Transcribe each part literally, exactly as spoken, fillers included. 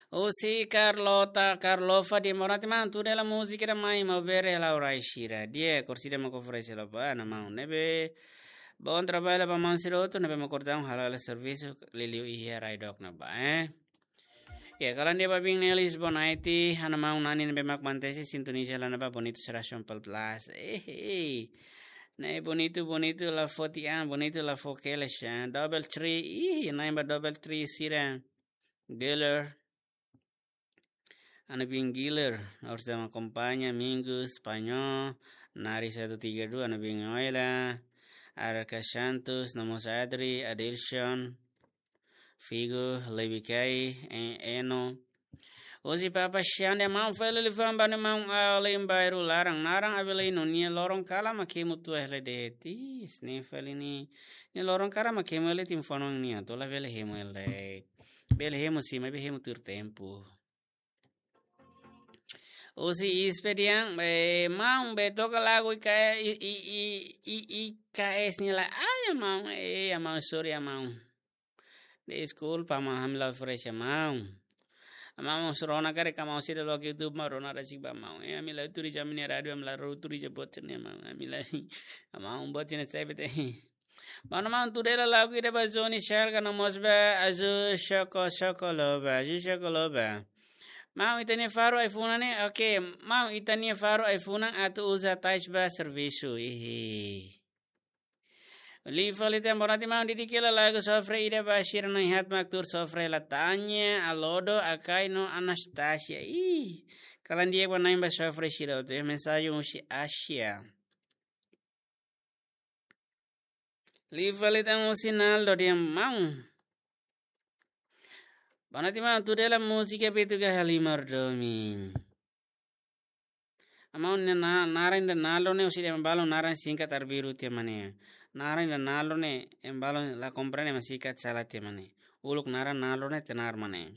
Husi Carlota, Carlofa dehan: "Boa noite, maun. Tuir hela múzika ida mai, maun bere hela orai sira. Di'ak, orsida mak oferese hela ba, maun. Ne'ebé bom trabalho ba maun sira hotu, ne'ebé mak kordau halo hela servisu, liuliu iha rai dook ne'ebá, eh." Ya, kalan dia ba bin Nelis Bonaiti, ha'u-nia maun Nani ne'ebé mak mantesi sintoniza hela ne'ebá Bonito Será João Paulo Plus. Eh, eh. Ne'e Bonito, Bonito la foti an, Bonito la fo keles an. Double three, ih, na'in ba double three sira. Geller. Ha'u-nia bin Giler, orsida mak akompaña, Mingus, Panho, Nari satu tiga dua, ha'u-nia bin Oila, Arca Santos, Namos Adri, Adilson, Figo, Lebikai, E-, Eno. Husi Papa Xande, maun fali liafuan ba ha'u-nia maun alin bairru laran, naran Abelino, nia loron kalan mak hemu tua hela de'it. Ih, ne'e fali nia, nia loron kalan mak hemu hela de'it, informa nia, atu labele hemu hela de'it. Bele hemu sim, maibé hemu tuir tempu. Husi Ispe dehan, eh, maun, bele toka lagu I K, I, I, I, I, I K S nia lae. Ai, maun, eh, maun, sorry, maun. Deskulpa, maun, ami la oferese, maun. Maun, mós rona karik maun sira loke YouTube, maun, rona rasik ba, maun. Eh, ami la tuur iha ami-nia rádiu, ami la tuur iha boot sira-ne'e, maun. Ami la, maun, boot sira-ne'e sai bete. Maun, maun, tuir hela lagu ida ba Johnny Shelga no mós ba Azu Shoko Shoko Loba, Azu Shoko Loba. Maun, ita-nia faru ai-funan ne'e, oke, maun, ita-nia faru ai-funan atu uza tais ba servisu, ihi. Liu fali tan, boa noite, maun, dedika hela lagu sofre ida ba sira na'in haat mak tuur sofre, Latanya, Alodo, Akai no Anastasia. Ih, kalan di'ak ba na'in ba sofre sira hotu, mensajen husi Asia. Liu fali tan husi Naldo dehan, maun. Boa noite, maun, tuir hela múzika Betuga Halimar Domin. Maun, ne'e na-, naran ida Naldo ne'e husi ema balun naran singkat arbiru tiha mak ne'e. Naran ida Naldo ne'e ema balun la komprende mak singkat sala tiha mak ne'e. Uluk naran Naldo ne'e tenar mak ne'e.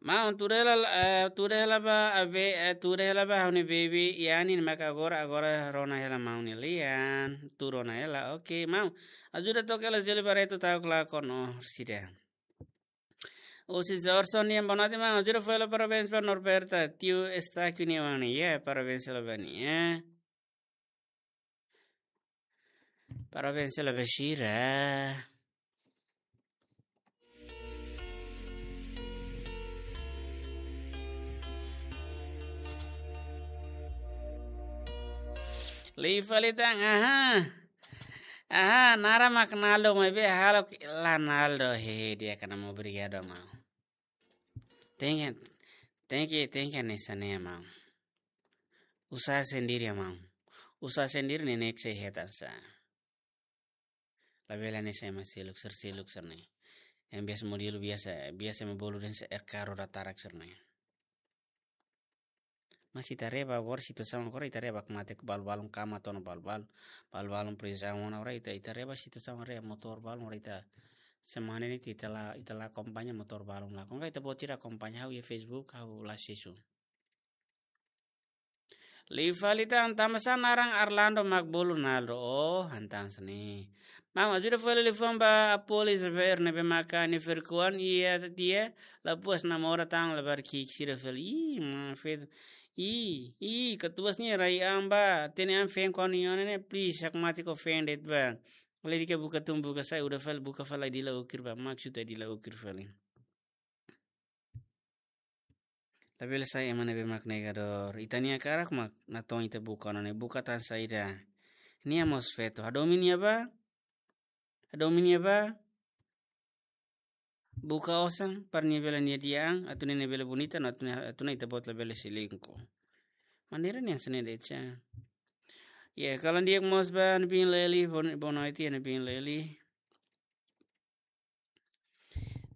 Maun, tuir hela, eh, tuir hela ba, abe, eh, tuir hela ba ha'u-nia baby Yani ne'ebé agora, agora rona hela maun nia lian. Tuur rona hela, oke, maun. Ajuda toka hela Zeli Barreto ta'uk lakon orsida. Husi Jorson dehan, boa noite, maun. Ajuda fó hela parabéns ba Norberta, tiu Estáquio nia oan ne'e. Ya, parabéns hela ba nia, eh. Parabéns hela ba sira. Liu fali tan, aha. Aha, naran mak Naldo, maibé halo la Naldo, he, di'ak ona maun, obrigadu, maun. Tenke, tenke, tenke hanesan ne'e, maun. Usaha sendiri, maun. Usaha sendiri ne'e ne'e sei hetan sá. Labele hanesan ema seluk sira, seluk sira-ne'e. Ema biasa modelu biasa, biasa ema bolu dehan sá R K roda tarak sira-ne'e. Mas ita haree ba agora situasaun agora, ita haree ba mate ku balu-balun kama tona balu-balun, balu-balun prizaun ona agora, ita, ita haree ba situasaun agora, motór balun agora, ita semana ne'e ita la, ita la akompaña motór balun lakon. Ka ita-boot sira akompaña ha'u iha Facebook, ha'u la sesu. Liu fali tan, tanba sá naran Arlando mak bolu Naldo, oh, han tan sá ne'e. Maun, ajuda fó hela liafuan ba Apolis Verne ne'ebé maka nia ferkuan iha tiha, la puas namora tan labarik ki'ik sira fali. Ih, maun, feto. Ih, ih, katuas nia rai an ba, hatene an feen kuandu iha ona ne'e, please, hakmatek ofende ba. Lori ke buka tun buka sai, uda fali buka fali dila ukir ba, maksud dila ukir fali. Labele sai ema ne'ebé mak negadór. Ita-nia hakarak mak natoon ita buka ona ne'e, buka tan saida. Nia mós feto. Hadomi nia ba. Hadomi nia ba. Buka osan, para nia bele nia di'ak an, atu nia bele bonita, no atu nia, atu nia ita-boot labele selingkuh. Maneira ne'e hanesan ne'e de'it sá. Ya, kalan di'ak mós ba ha'u-nia bin Leli, bon-, boa noite, ha'u-nia bin Leli.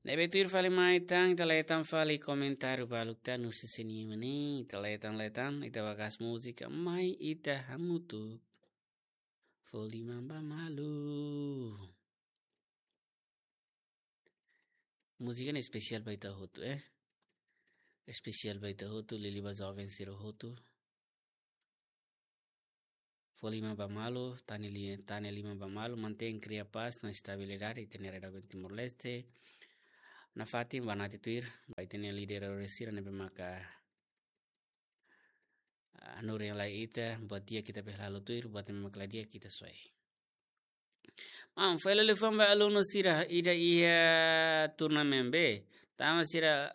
Ne'ebé tuir fali mai tan, ita leten fali komentáriu balun tan husi sira-nia ema ne'e, ita leten, leten, ita bagas múzika, mai ita hamutuk. Fó liman ba malu. Múzika ne'e espesiál ba ita hotu, eh. Espesiál ba ita hotu, liuliu ba joven sira hotu. Fó liman ba malu, tane li-, tane liman ba malu, mantein, kria pás no estabilidade iha ita-nia rai doben Timor-Leste. nafatin ba natin tuir, ba ita-nia líder sira ne'ebé maka, ah, hanorin lai ita, buat di'ak ita bele halo tuir, buat ne'ebé maka la di'ak ita soe. Maun, fali liafuan ba alunu sira ida iha turnamen B. Tanba sira,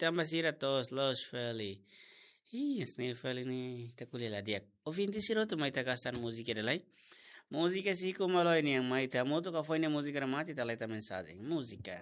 tanba sira to'os loos fali. Ih, hanesan ne'e fali ne'e ita ko'alia la di'ak. Ouvinte sira hotu, mai ita hasa'e múzika ida lai. Múzika Siku Maloi nian, mai ita hamutuk ka foin ne'e múzika remata ita leta mensajen. Múzika.